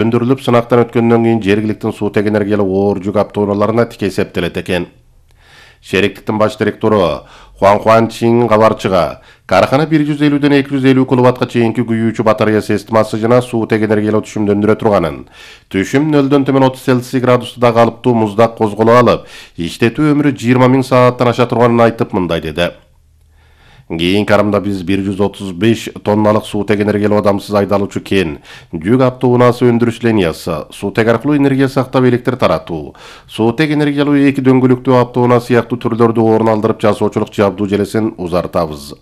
өндүрүлүп сынактан өткөндөн кийин жергиликтин суутек энергиялуу оор жүк автоунааларына тикей эсептелет экен. Шериктиктин баш директору Хуан Чин кабарчыга карахана 150ден 250 киловаттка чейинки күйүүчү батарея системасы жана суутек энергиялуу түшүмдөндүрө турганын, түшүм 0дон төмөн 30 Цельсий градустуда калыптуу муздак козголо алып, иштетүү өмүрү 20.000 сааттан аша турганын айтып мындай деди. Кийин карымда биз 135 тонналык суутек энергиялуу адамсыз айдалуучу кен, жүк автоунаасы өндүрүш линиясы, суутек аркылуу энергия сактап электр таратуу, суутек энергиялуу 2 дөңгөлөктүү автоунаа сыяктуу түрлөрдү орун алдырып жасоочулук жабдуу желесин узартабыз.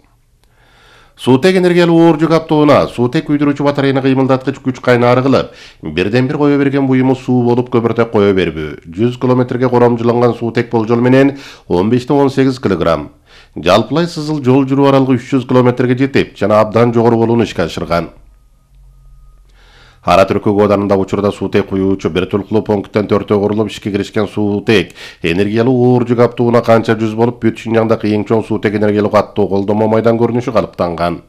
Суутек энергиялуу оор жүк автоунаа суутек күйдүрүүчү батареяны кыймылдаткыч күч кайнары кылып, бирден бир кое берген буюму суу болуп көмүртөк кое бербүү. 100 километрге коромжуланган суутек болжол менен 15-18 кг. Жалпылай сызыл жол жүрүү аралыгы 300 километрге жетип, жана абдан жогору болууну ишке ашырган. Ара Түркү кооданында учурда суутек куюучу бир толуктуу пункттен 4 курулуп ишке киришкен суутек энергиялуу оор жүк автоунаа канча жүз болуп, бүт Шинжаңда эң чоң суутек энергиялуу каттуу колдомо майдан көрүнүшү калыптанган.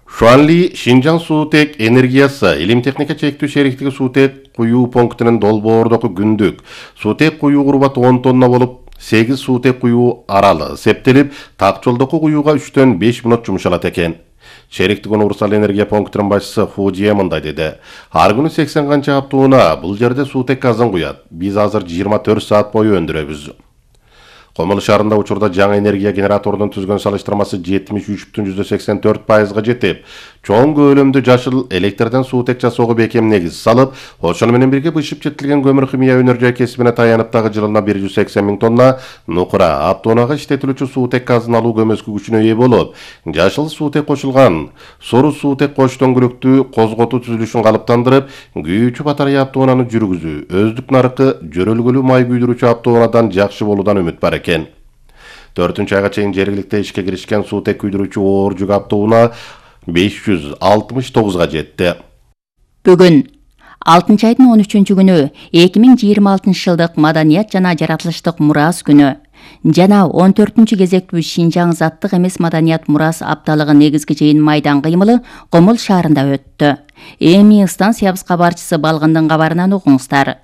Шуанли Шинжаң суутек энергиясы илим техника чектүү шериктиги суутек куюу пунктунун долбоордогу күндүк суутек куюу курбаты 10 тонна болуп, 8 суутек куюу аралы септелип, так жолдогу куюуга 3дөн 5 мүнөт жумшалат экен. Шериктик универсал энергия пунктунун башчысы Фужие мындай деди. Ар күнү 80 канча автоунаа бул жерде суутек газын куят. Биз азыр 24 саат бою өндүрөбүз. Комул шаарында учурда жаңы энергия генераторунун түзгөн салыштырмасы 73,84%га жетип, чоң көлөмдүү жашыл электрден суутек жасоого бекем негиз салып, ошону менен бирге бышып жетилген көмүр химия өнөр-жай кесибине таянып дагы жылына 180 000 тонна нукура автоунаага иштетилүүчү суутек газын алуу көмөскү күчүнө ээ болуп, жашыл суутек кошулган сору суутек кош дөңгөлөктүү козготуу түзүлүшүн калыптандырып, күйүүчү батарея автоунааны жүргүзүү, өздүк нарыкы жөрөлгөлүү май күйдүрүүчү автоунаадан жакшы болуудан үмүт бар экен. 4 айга чейин жергиликте ишке киришкен суутек күйдүрүүчү оор жүк автоунаа 569га жетти. Бүгүн 6 айдын 13-күнү 2026 жылдык маданият жана жаратылыштык мурас күнү жана 14 кезектүү Шинжаң заттык эмес маданият мурас апталыгы негизги жыйын майдан кыймылы Комул шаарында өттү. Эми станциябыз кабарчысы Балгындын кабарынан угуңуздар.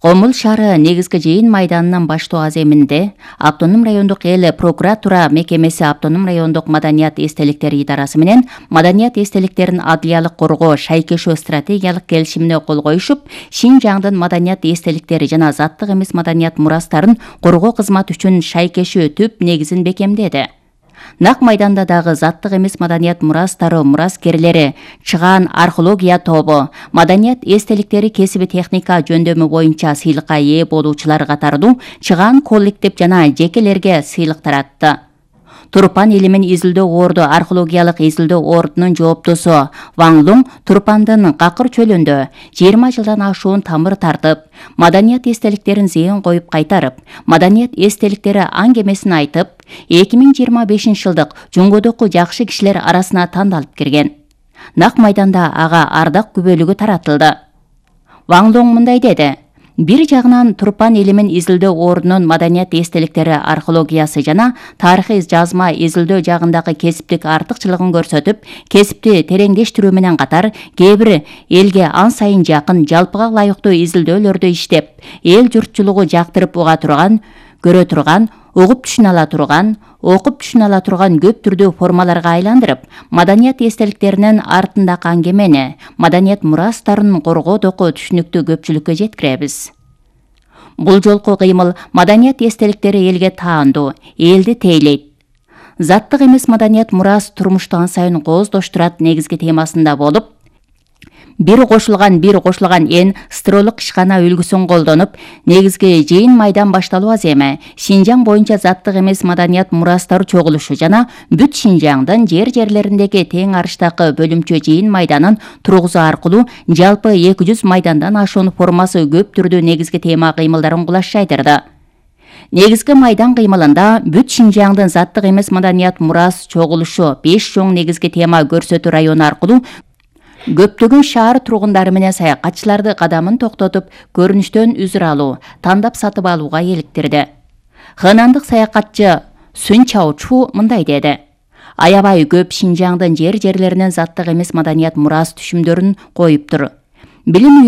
Комул шаары негизги жыйын майданынын баштоо аземинде Автоном райондук эл прокуратура мекемеси Автоном райондук маданият эстеликтери идарасы менен маданият эстеликтерин адлиялык коргоо шайкешүү стратегиялык келишимине кол коюшуп, Шинжаңдын маданият эстеликтери жана заттык эмес маданият мурастарын коргоо кызматы үчүн шайкешүү түп негизин бекемдеди. Нак майданда дагы заттык эмес маданият мурастары мураскерлери, чыгаан археология тобу, маданият эстеликтери кесиби техника жөндөмү боюнча сыйлыкка ээ болуучулар катардуу чыгаан коллектив жана жекелерге сыйлык таратты. Турпан элимин изилдөө орду археологиялык изилдөө ордунун жооптусу Ван Лун Турпандын Какыр чөлүндө 20 жылдан ашуун тамыр тартып, маданият эстеликтерин зыян коюп кайтарып, маданият эстеликтери аңгемесин айтып, 2025 жылдык Жуңгодогу жакшы кишилер арасына тандалып кирген. Нак майданда ага ардак күбөлүгү таратылды. Ван Лун мындай деди. Бир жагынан Турпан элимин изилдөө ордунун маданият эстеликтери археологиясы жана тарыхый жазма изилдөө жагындагы кесиптик артыкчылыгын көрсөтүп, кесипти тереңдештирүү менен катар кээ бир элге ан сайын жакын жалпыга ылайыктуу изилдөөлөрдү иштеп, эл журтчулугу жактырып уга турган, көрө турган, угуп түшүнө ала турган, окуп түшүнө ала турган көп түрдүү формаларга айландырып, маданият эстеликтеринин артындагы аңгемени, маданият мурастарын коргоодогу түшүнүктүү көпчүлүккө жеткиребиз. Бул жолку кыймыл маданият эстеликтери элге таандуу, элди тейлейт. Заттык эмес маданият мурас турмушту ан сайын кооздоштурат негизги темасында болуп, бир кошулган эн стролук ишкана үлгүсүн колдонуп, негизги жыйын майдан башталуу аземи Шинжаң боюнча заттык эмес маданият мурастар чогулушу жана бүт Шинжаңдын жерлериндеги тең арыштагы бөлүмчө жыйын майданын тургузуу аркылуу жалпы 200 майдандан ашуун формасы көп түрдүү негизги тема кыймылдарын кулаш жайдырды. Негизги майдан кыймылында бүт Шинжаңдын заттык эмес маданият мурас чогулушу 5 чоң негизги тема көрсөтүү району аркылуу көптөгөн шаар тургундары менен саякатчыларды кадамын токтотуп, көрүнүштөн үзүр алуу, тандап сатып алууга иликтирди. Ханандык саякатчы Сүн Чаучу мындай деди. Аябай көп Шинжаңдын жерлеринен заттык эмес маданият мурас түшүмдөрүн коюптур. Билим